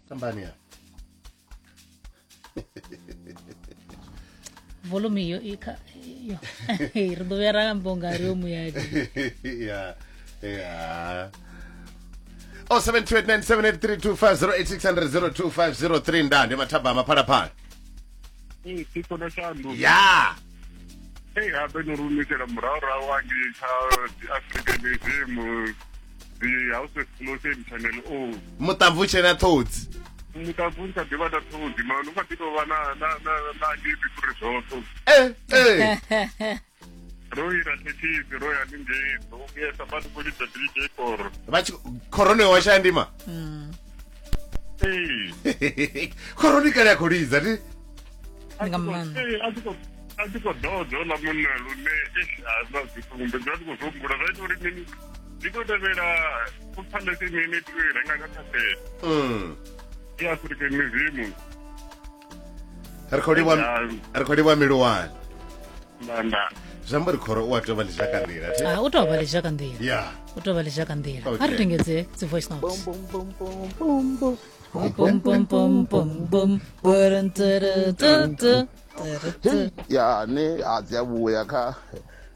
Tambani ya. Volume iyo i kha iyo. Ri ḓo vhuya ra amba unga ri yo muyani. Ya. Ya. 072897832508600250 nda ndi mathabama phalaphala. Ee, tshikolo tsha ndu. Ya. Ee, habe no rumisela murahu rahu hangei kha African Museum the House of Closing Channel O. Muṱamvu tshena ṱhodzi. Muṱamvu kha ḓi vha na ṱhodzi, mara u kha ḓi tou vha na na na na ngei fhuri zwoṱhe. Eh, eh. Ro ira thekhisi ro ya haningei, ro vhuyesa vha khou lidza DJ Koro. Vha tshi khoroni wa shaya ndima. Ee. Khoroni kale ya khou lidza ti. Nga maanḓa. Ee, a tshi khou a tshi khou ḓodza oḽa munna lune eish, a zwa zwi songo mbe zwa ndi khou zwi humbula zwa ita uri mini ndi tou tevhela phalese mini tea u i renga nga khasete ya African Museum. Ri khou livha ri khou livha miluwani. Nda Zwi amba uri khoro u a tea u vha ḽizhaka nḓila thi. Ah, u tou vha ḽizhaka nḓila. Ya. U tou vha ḽizhaka nḓila. Okay. A ri tengedze dzi voice notes. Bum bum bum bum bum. Bum bum bum bum bum. Bum, tu, tu, tu, tu, tu. Ya ne a dzi a vhuya kha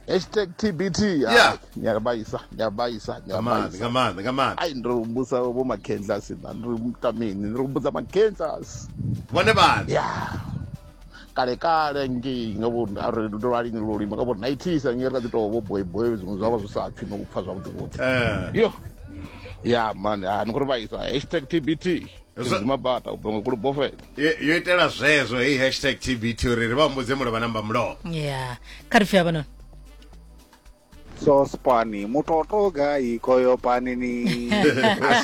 hashtag TBT. Yeah. Nyabaisa, nyabaisa, Nga maanḓa, nyabaisa. nga maanḓa, nga maanḓa. Ai ndi humbudza vho Makhendlasi na ndi mutamini, ndi humbudza Makhendlasi. Vhone vhaṋe. Ya. Kale kale ngei nga vho ari ndo vha lini lwo lima nga vho 90s ngei ri kha ḓi tou vho boy boy zwiṅwe zwa vha zwi sa pfi no u pfa zwavhuḓi vhuḓi. Eh. Yo. Ya man, ha ni khou ri vhaisa hashtag TBT. Zimabata u bva nga kulubofela. Yo itela zwezwo heyi hashtag TBT uri ri vha humbudze mulovha namba mulovha. Ya. Kha ri pfi havhanoni. Sospani mutoto gai koyo panini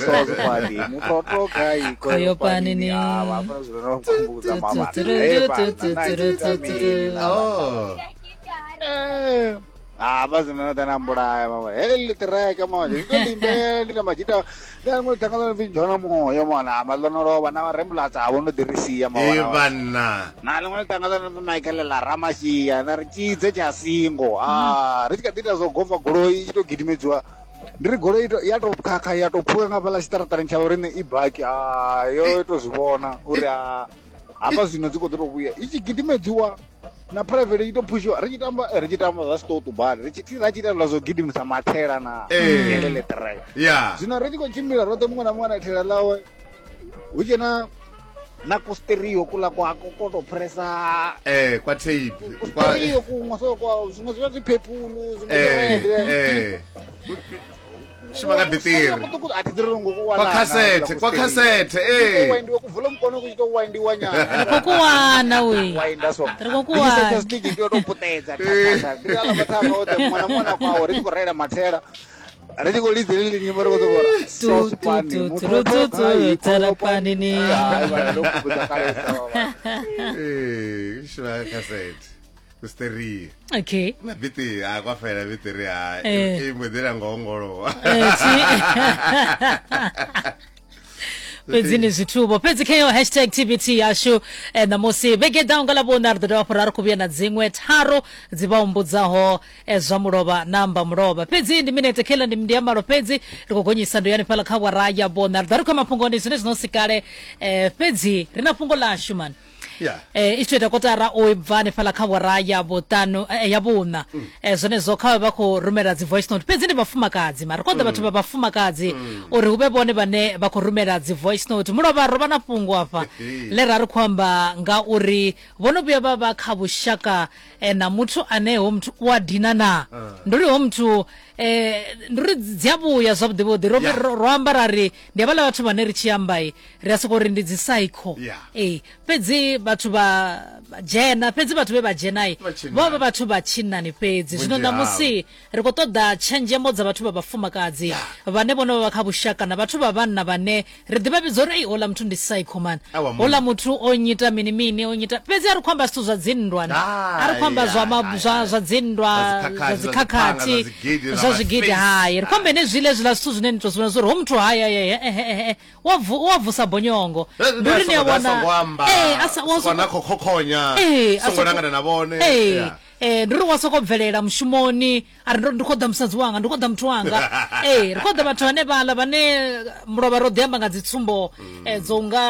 sospani mutoto gai Koyo koyo panini. panini ah vha zwi no kumbudza mama eh bana Oh. eh ah vha zwino ḓa na mbulaya mama hele ḽiṱireke mama ndi to limbe ndi na majita ndi na ṅwe ṱanga ḽo jona moyo mona ma ḽo no lovha na rembulasa a vho no ḓi ri sia E mama vhanna. na ḽiṅwe ḽiṱanga ḽo Michael ḽa Ramasia na ri tshidze tsha singo ah ri tshi kha ḓi ita zwo gofa goloi i tshi to gidimedziwa ndi ri goloi ya to khakha ya to phuka nga fhaḽa tshiṱaraṱani tsha vhoriṋe i baki ah yo to zwi vhona uri ah hafha zwino dzi khou ḓo to vhuya i tshi gidimedziwa na private i to phushiwa ri tshi tamba ri tshi tamba zwa siṱoṱu badi ri tshi ra tshi ita zwa zwo gidimisa mathela na Eh. hele ḽiṱireke Ya. zwino ri tshi khou tshimbila roṱhe muṅwe na muṅwe na thela ḽawe hu tshe na na kusterio kula kwa ko to pressa Eh, kwa tape. Kwa kusterio kuṅwe so kwa zwiṅwe zwi vha zwi purple zwiṅwe zwi eh red eh. Shuma nga biṱiri. a thi ḓiri ngo Kwa cassette, kwa cassette, eh. waindiwa kuvula mukono ku tshi to waindiwa nyana Ri khou kuwana we. wainda so Ri khou kuwana. stick ndi to puṱedza ndi ala mathanga oṱhe muṅwe na muṅwe na kwawo ri tshi khou reila mathela ri tshi khou lidza heḽi nyimbo ri khou sokou ri Tu, tu, tu, tu, tu, tu, tsela panini. Eh, shuma nga cassette. Kusterio. Okay. Na biṱiri, ha kwa fela biṱiri ha. Eh. I mbo ḓi la ngongolowa. Eh, Fhedzi ndi zwithuvho fhedzi kha iyo hashtag TBT yashu eh, ṋamusi vhege ḓaho nga ḽavhuṋa ri ḓo dovha hafhu ra ri khou vhuya na dziṅwe tharu dzi vha humbudzaho eh, zwa mulovha na amba mulovha fhedzi ndi minete khela ndi ndi ya malo fhedzi ri khou gonyisa ndo yani fhaḽa kha wara ya vhuṋa ri ḓa ri khou ya mafhungoni zwine zwino si kale eh, fhedzi ri na fhungo ḽashu mani Yeah. Eh, i tshi tou ita kotara u bva hanefhaḽa kha wara ya vhuṱanu ya vhuṋa eh, zwenezwo kha vhe vha khou rumela dzi voice note fhedzi ndi vhafumakadzi mara koḓa vhathu vha vhafumakadzi uri hu vhe vhone vhane vha khou rumela dzi voice note mulovha ro vha na fhungo afha ḽe ra ri khou amba nga uri vho no vhuya vha vha kha vhushaka eh, na muthu ane ho muthu u a dina na ndi uri ho muthu eh, ndi uri dzi a vhuya zwavhuḓi vhuḓi ro, Yeah. ro, ro amba ra ri ndi havhaḽa vhathu vhane ri tshi amba ri a sokou ri ndi dzi psycho Yeah. ee fhedzi vhathu vha vha dzhena fhedzi vhathu vhe vha dzhenai Vha tshinnani. vho vha vhathu vha tshinnani fhedzi zwino Vhunzhi havho. ṋamusi ri khou ṱoḓa tshenzhemo dza vhathu vha vhafumakadzi vhane vhono vha kha vhushaka na vhathu vha vhanna vhane ri ḓi vha vhidza uri ei houḽa muthu ndi psycho man Awa, munna. houḽa muthu o nyita mini mini o nyita fhedzi a ri khou amba zwithu zwa dzinndwa a ri khou amba zwa ma- Ai, zwa ai, zwa dzinndwa Zwa dzikhakhathi, zwa zwa dzikhakhathi dziphanga, zwa zwigidi, zwa zwa zwigidi ma-face. hai ri khou amba henezwiḽa hezwiḽa zwithu zwine ni to zwi vhona zwa uri ho muthu haya wa wa vusa bonyongo Ndi uri ni a vhona songo amba Eh, a sa- wa songo na soko- khokhonya Eh, a songo soko- langana na vhone Eh, Yeah. eh, ndi uri wa soko bvelela mushumoni a ri ndi khou ḓa musadzi wanga ndi khou ḓa muthu wanga ee ri khou ḓa vhathu vhane vhaḽa vhane mulovha ro ḓi amba nga dzitsumbo dzo nga